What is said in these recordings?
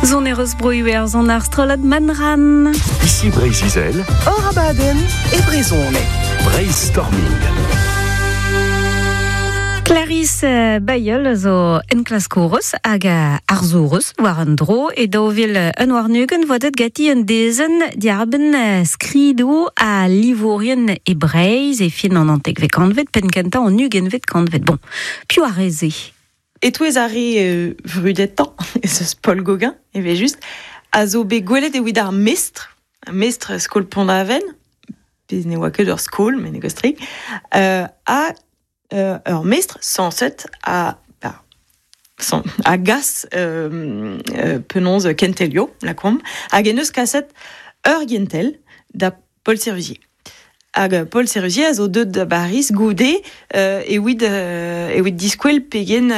Sonerezh Bro-Iwerzhon ar strollad Manran. Ici Breizh-Izel. Hor abadenn e brezhoneg. Breizhstorming. Clarisse Bayeul zo enklaskourez hag arzourez war un dro e 2021 voa deuet ganti un dezenn diarbenn skridoù ha livourien e Breizh e fin an naontekvet kantved, penn-kentañ an ugentvet kantved. Bon, piv ar re-se? E-touez ar re vrudetañ ez eus Paul Gauguin, evel-just, a zo bet gwelet evit ar mestr, mestr skol Pont-Aven, pezh ne oa ket ur skol, met negostrik, ha ur mestr sañset a a gas penaos kentelioù, lakaomp, hag en deus kaset ur gentel da Paul Sérusier. Hag Paul Sérusier a zo deuet da Bariz goude evit evit diskwel pegen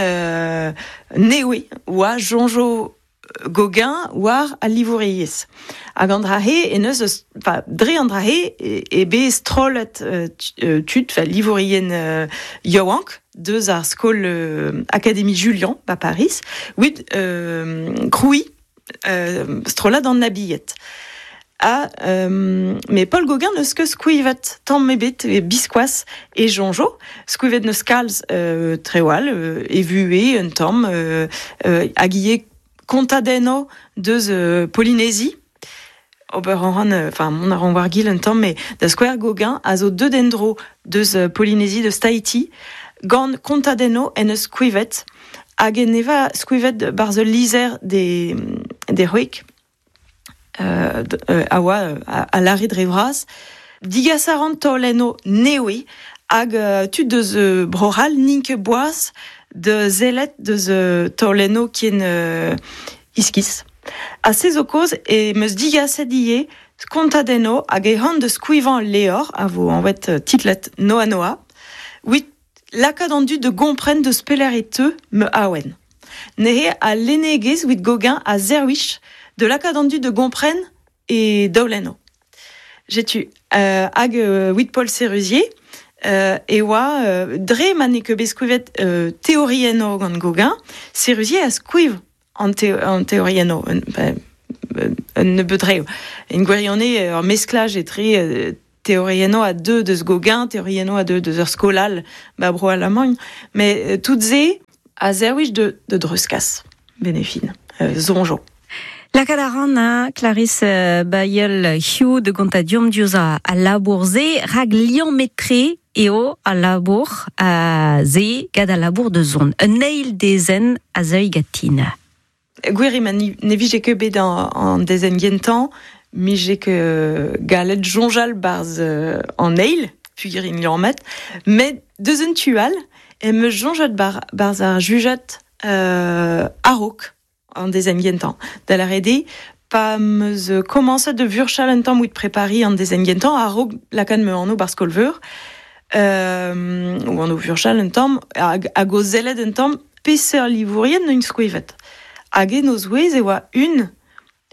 newe oa soñjo Gauguin war al livouriezh. Hag an dra-se en deus enfin, dre an dra-se eo bet strollet tud, enfin, livourien yaouank deus ar skol Académie Julian ba Pariz, evit krouiñ strollad an Nabied. Ha met Paul Gauguin n'eus ket skuizhet tamm ebet e biskoazh e soñjo. Skuizhet n'eus kalz traoù all, e vuhez un tamm, hag ivez kontadennoù deus Polinezi. Ober a ran, enfin mont a ran war-gil un tamm, met da skouer Gauguin a zo deuet en-dro deus Polinezi, deus Tahiti, gant kontadennoù en deus skuizhet hag en eva skuizhet 'barzh ul lizher d'e d'e c'hwreg. A oa a lâre dre vras degas a ran taolennoù nevez hag tud deus Bro-C'hall n'int ket boas da sellet deus taolennoù ken iskis. Ha se zo kaoz em eus degaset ivez kontadennoù hag e ran da skuizhañ ul levr a vo anvet titlet Noa Noa evit lakaat an dud da gompren deus pelec'h e teu ma awen. Neuze al lennegezh evit Gauguin a servij da lakaat an dud da gompren e daolennoù. Setu hag evit Paul Sérusier e oa dre ma n'eo ket bet skrivet teoriennoù gant Gauguin, Sérusier a skriv an teoriennoù un nebeud reoù. En gwirionez ur mesklaj etre teoriennoù a deu deus Gauguin, teoriennoù a deu deus ur skol all ba Bro-Alamagn, met tout se a servij de, de dreuzkas, benefin, soñjo. Lakaat a ran hein, Clarisse Bayeul hiziv da gontañ deomp diouzh al labour-se, rak liammet-tre eo al labour se gant al labour da zont. Un eil dezenn a zeuy gatin. Gwir eo ma ne vije ket bet an dezenn gentañ, 'mije ket gallet soñjal 'barzh an eil, peogwir int liammet. Met deus un tu all em eus soñjet 'barzh ar jujad a-raok an dezenn gentañ. Da lâret eo, pa 'm eus komañset da vurchal un tamm evit prepariñ an dezenn gentañ a-raok lakaat ma anv 'barzh skol-veur, oan o vurchal un tamm hag o sellet un tamm peseurt livourien 'neuint skrivet. Hag en o zouez e oa un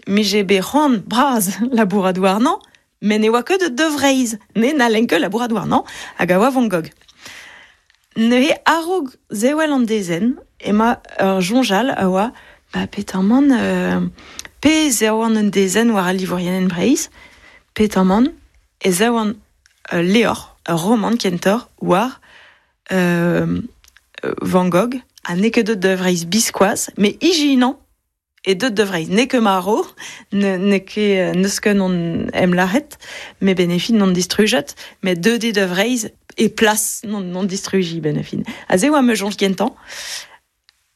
'mije bet c'hoant bras labourat warnañ, met ne oa ket da Vreizh. Ne n'hallen ket labourat warnañ, hag a oa Van Gogh. Neuze a-raok sevel an dezenn emañ ur soñjal a oa ba petamant pe ez eo an dezenn war al livourien en Breizh, petamant ez eo ul levr, ur romant kentoc'h war Van Gogh ha n'eo ket deuet da Vreizh biskoazh, met ijinañ eo deuet da Vreizh. N'eo ket marv, n'eo ket n'eus ket non em lâret, met benn ar fin non distrujet, met deuet eo da Vreizh e plas non distrujiñ benn ar fin. Aze e oa ma soñj gentañ.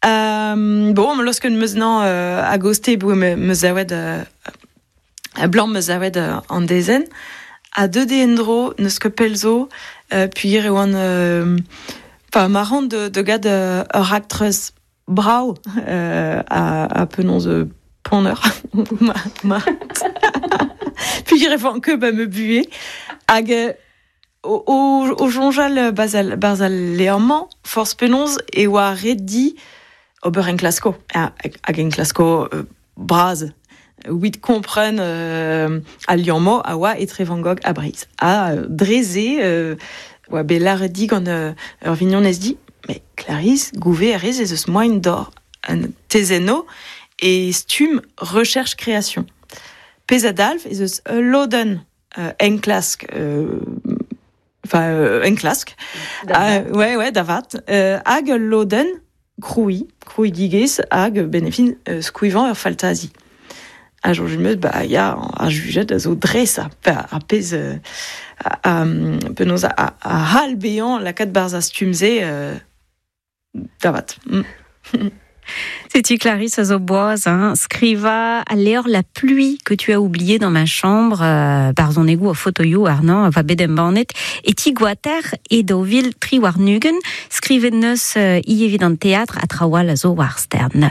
Bon, laosket 'm eus 'nañ a-gostez 'boe 'm eus savet abalamour 'm eus savet an dezenn. Ha deuet eo en-dro n'eus ket pell zo peogwir e oan enfin marrant da gad ur raktres brav ha penaos ponner ma peogwir e oan ket 'ba ma buhez. Hag o soñjal 'barzh al levr-mañ, forzh penaos e oa ret dit ober enklasko hag enklasko bras evit kompren al liammoù a oa etre Van Gogh ha Breizh. Ha dre-se oa bet lâret dit gant ur vignonez dit, mais Clarisse, gouve a rez ez eus moaien d'ober un tezennoù. e stumm recherche création. Pezh a dalv ez eus ul lodenn enklask enfin enklask ouais ouais da vat hag ul lodenn krouiñ krouidigezh hag benefin skuivañ ur faltazi. Ha soñj 'm eus ba ya ar jujed a zo dres ar pezh penaos a c'hall bezañ lakaat 'barzh ar stumm-se da vat. Setu Clarisse a zo boaz, hein, skrivañ al levr La pluie que tu as oublié dans ma chambre, barzhonegoù ha fotoioù warnañ a oa bet embannet e ti Gwater e 2023. Skrivet 'neus ivez evit an teatr ha traoù all a zo war stern.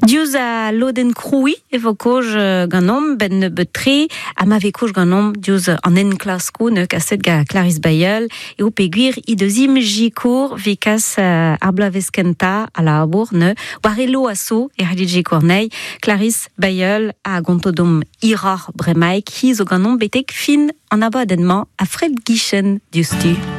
Diouzh al lodenn krouiñ e vo kaoz ganeomp 'benn nebeut-tre ha ma vez kaoz ganeomp diouzh an enklaskoù 'neus kaset gant Clarisse Bayeul eo peogwir he deus imjikour 'vit kas ar bloavezh kentañ a labour 'neus war e lo a so e c'hallit sikour anezhi. Clarisse Bayeul a gonto deomp hiroc'h bremaik. Hi zo ganeomp betek fin an abadenn-mañ ha Fred Guichen diouzhtu.